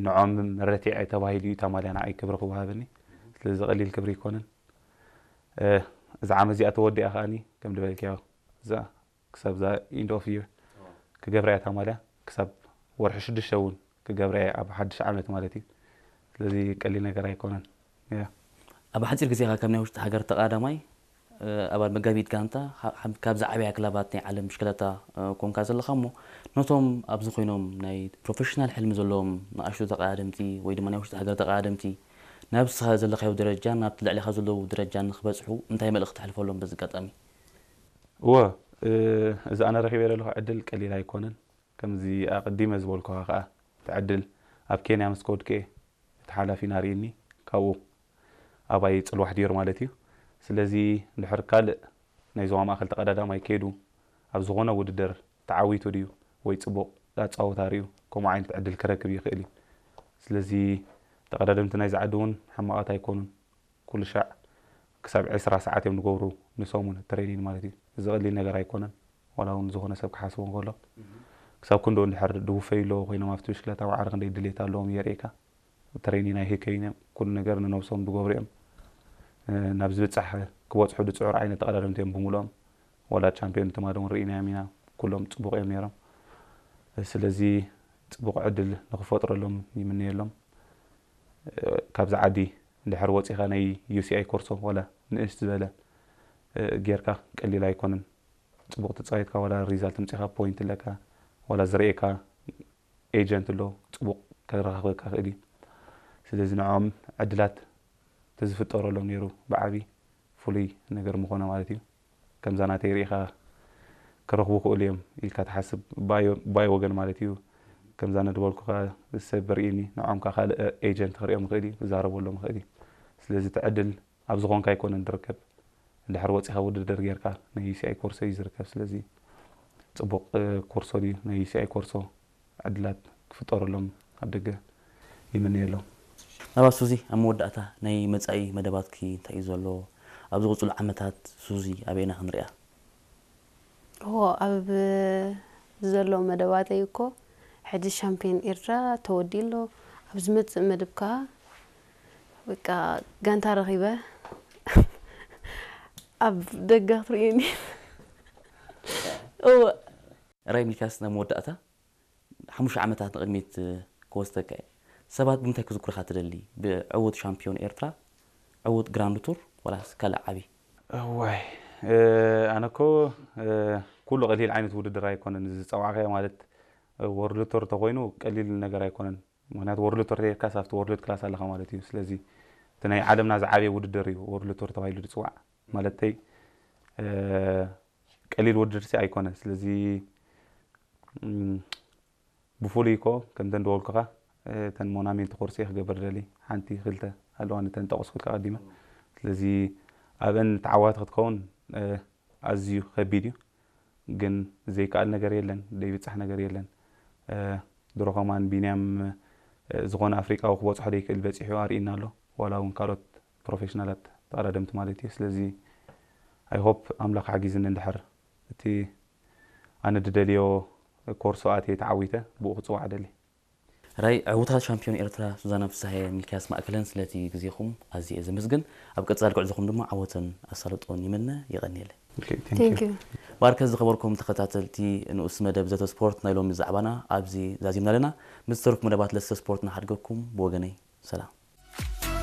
ንዖም መረትዒ ተባሂሉ እዩ እታ ማልያ ንዓይ ክብሪ ክወሃበኒ። ስለዚ ቀሊል ክብሪ ኣይኮነን። እዚ ዓመት እዚኣ ተወዲኣ ከዓኒ ከም ዝበልክዮ እዛ ክሳብ እዛ ኢንድ ኦፍ ይር ክገብራ እያ እታ ማልያ። ክሳብ ወርሒ ሽዱሽተ እውን ክገብራ እየ ኣብ ሓድሽ ዓመት ማለት እዩ። ስለዚ ቀሊል ነገር ኣይኮነን። ያ ኣብ ሓፂር ግዜ ኢኻ ካብ ናይ ውሽጢ ሃገር ተቐዳዳማይ ኣባል መጋቢት ጋንታ ካብ ዝዓበያ ክለባት ናይ ዓለም ብሽክለታ ኮንካ ዘለኻ እሞ ነቶም ኣብዚ ኮይኖም ናይ ፕሮፌሽናል ሕልሚ ዘለዎም ንኣሽቱ ተቐዳደምቲ ወይ ድማ ናይ ውሽጢ ሃገር ተቐዳደምቲ ናብ ንስኻ ዘለኻዮ ደረጃ ናብቲ ልዕሊኻ ዘለዉ ደረጃ ንክበፅሑ እንታይ መልእኽቲ ተሕልፈሎም በዚ ኣጋጣሚ? እወ እዚ ኣነ ረኺበ ዘለኹ ዕድል ቀሊል ኣይኮነን። ከምዚ ኣቐዲመ ዝበልኩኻ ከዓ እቲ ዕድል ኣብ ኬንያ ምስ ከድኩ እየ እቲ ሓላፊና ርእኒ ካብኡ ኣባይ ፅልዋሕ ድዮር ማለት እዩ። ስለዚ እንድሕር ካልእ ናይ ዞባ ማእኸል ተቐዳዳማይ ከይዱ ኣብ ዝኾነ ውድድር ተዓዊቱ ድዩ ወይ ፅቡቕ ኣፃወታ ርእዩ ከምኡ ዓይነት ዕድል ክረክብ ይኽእል እዩ። ስለዚ ተቐዳደምቲ ናይዚ ዓዲ እውን ሕማቓት ኣይኮኑን። ኩሉ ሻዕ ክሳብ ዕስራ ሰዓት እዮም ዝገብሩ ንሰሙን ትሬኒን ማለት እዩ። እዚ ቀሊል ነገር ኣይኮነን። ዋላ እውን ዝኾነ ሰብ ክሓስቦ እንከሎ ክሳብ ክንድኡ እንድሕር ድውፈዩ ኣለዎ ኮይኖም ኣብቲ ብሽክለታ ዋዕሪ ክንደይ ድሌት ኣለዎም የርእየካ። ትሬኒን ኣይህከዩን እዮም። ኩሉ ነገር ንነብሶም ዝገብሩ እዮም። ናብ ዝብፃሕ ክበፅሑ ዝፅዕሩ ዓይነት ተቐዳደምቲ እዮም ብምልኦም። ዋላ ቻምፒዮን ትማሊ እውን ርኢናዮም ኢና። ኩሎም ፅቡቕ እዮም ነይሮም። ስለዚ ፅቡቕ ዕድል ንክፈጥረሎም ይምነየሎም። ካብዚ ዓዲ እንድሕር ወፂኻ ናይ ዩሲኣይ ኮርሶ ዋላ ንእሽት ዝበለ ጌርካ ቀሊል ኣይኮነን። ፅቡቕ ተፃዊትካ ዋላ ሪዛልት ምፂኻ ፖይንት ኣለካ ዋላ ዝርእየካ ኤጀንት ኣሎ ፅቡቕ ከረኻኽበካ ክእል እዩ። ስለዚ ንዕኦም ዕድላት ተዝፍጠረሎም ነይሩ ብዓብዪ ፍሉይ ነገር ምኾነ ማለት እዩ። ከምዛ ናተይ ርኢኻ ክረኽቡ ክእሉ እዮም ኢልካ ትሓስብ ባይ ወገን ማለት እዩ። ከምዛ ነድበልኩኻ ሰብ ርኢኒ ንዖም ከዓ ካልእ ኤጀንት ክርእዮም ይኽእል እዩ ክዛረበሎም ይኽእል እዩ። ስለዚ እቲ ዕድል ኣብ ዝኾንካ ኣይኮነን ዝርከብ። እንድሕር ወፂኻ ውድድር ጌርካ ናይ ዩሲኣይ ኮርሶ እዩ ዝርከብ። ስለዚ ፅቡቕ ኮርሶ ድዩ ናይ ዩሲኣይ ኮርሶ ዕድላት ክፍጠረሎም ኣብ ደገ ይምነየሎም። ናባ ሱዚ ኣብ መወዳእታ ናይ መፃኢ መደባትኪ እንታይ እዩ ዘሎ? ኣብ ዝቕፅሉ ዓመታት ሱዚ ኣበየና ክንሪኣ? እዎ ኣብ ዘሎ መደባተይ እኮ ሕጂ ሻምፒዮን ኤርትራ ተወዲኡ ኣሎ። ኣብ ዝመፅእ መደብ ከዓ በቃ ጋንታ ረኺበ ኣብ ደገ ክትርእዩኒ። እወ። ራይ ሚልክያስ ናብ መወዳእታ ሓሙሽተ ዓመታት ንቕድሚት ክወስደካ እየ። ሰባት ብምንታይ ክዝክሩኻ ትደሊ? ብዕዉት ሻምፒዮን ኤርትራ፣ ዕዉት ግራንድ ቱር ወላስ ካልእ ዓቢ? እዋይ ኣነ እኮ ኩሉ ቀሊል ዓይነት ውድድር ኣይኮነን እዚ ዝፀዋዕካዮ ማለት ወርልድ ቱር ተኮይኑ ቀሊል ነገር ኣይኮነን። ምክንያቱ ወርልድ ቱር ተይርካስ ኣብቲ ወርልድ ክላስ ኣለካ ማለት እዩ። ስለዚ እቲ ናይ ዓለምና ዝዓበየ ውድድር እዩ ወርልድ ቱር ተባሂሉ ዝፅዋዕ ማለተይ ቀሊል ውድድር ሲ ኣይኮነን። ስለዚ ብፍሉይ ኮ ከምተን ደወልኩኻ እተን ሞናሜንት ኮርስ እየ ክገብር ደሊ ሓንቲ ክልተ ኣለዋ ነተን ጠቀስኩልካ ቀዲመ። ስለዚ ኣብአን ተዓዋቲ ክትከውን ኣዝዩ ከቢድ እዩ። ግን ዘይከኣል ነገር የለን፣ ዘይብፃሕ ነገር የለን። ድሮ ከማን ቢንያም ዝኾነ ኣፍሪቃዊ ክበፅሖ ዘይክእል በፂሑ ኣርእና ኣሎ። ዋላ እውን ካልኦት ፕሮፌሽናላት ተቐዳደምቲ ማለት እዩ። ስለዚ I hope ኣምላኽ ሓጊዝኒ እንድሕር እቲ ኣነ ድደልዮ ኮርሶ ኣትየ ተዓዊተ ብኡ ክፅዋዕ ደሊ። ራይ ዕውታት ሻምፒዮን ኤርትራ ሱዛና ፍስሃየ ሚልክያስ ማእከለን ስለቲ ግዜኹም ኣዝየ እየ ዘመስግን። ኣብ ቀጻሊ ጉዕዞኹም ድማ ዓወትን ኣሳልጦን ይምነ። የቐንየለይ። Thank you። ባርከ ዝኸበርኩም ተኸታተልቲ ንኡስ መደብ ዘተ ስፖርት ናይ ሎሚ ዛዕባና ኣብዚ ዛዚምና ኣለና። ምስ ዝተረፉ መደባት ለሰ ስፖርት ንሓድገኩም ብወገነይ ሰላም።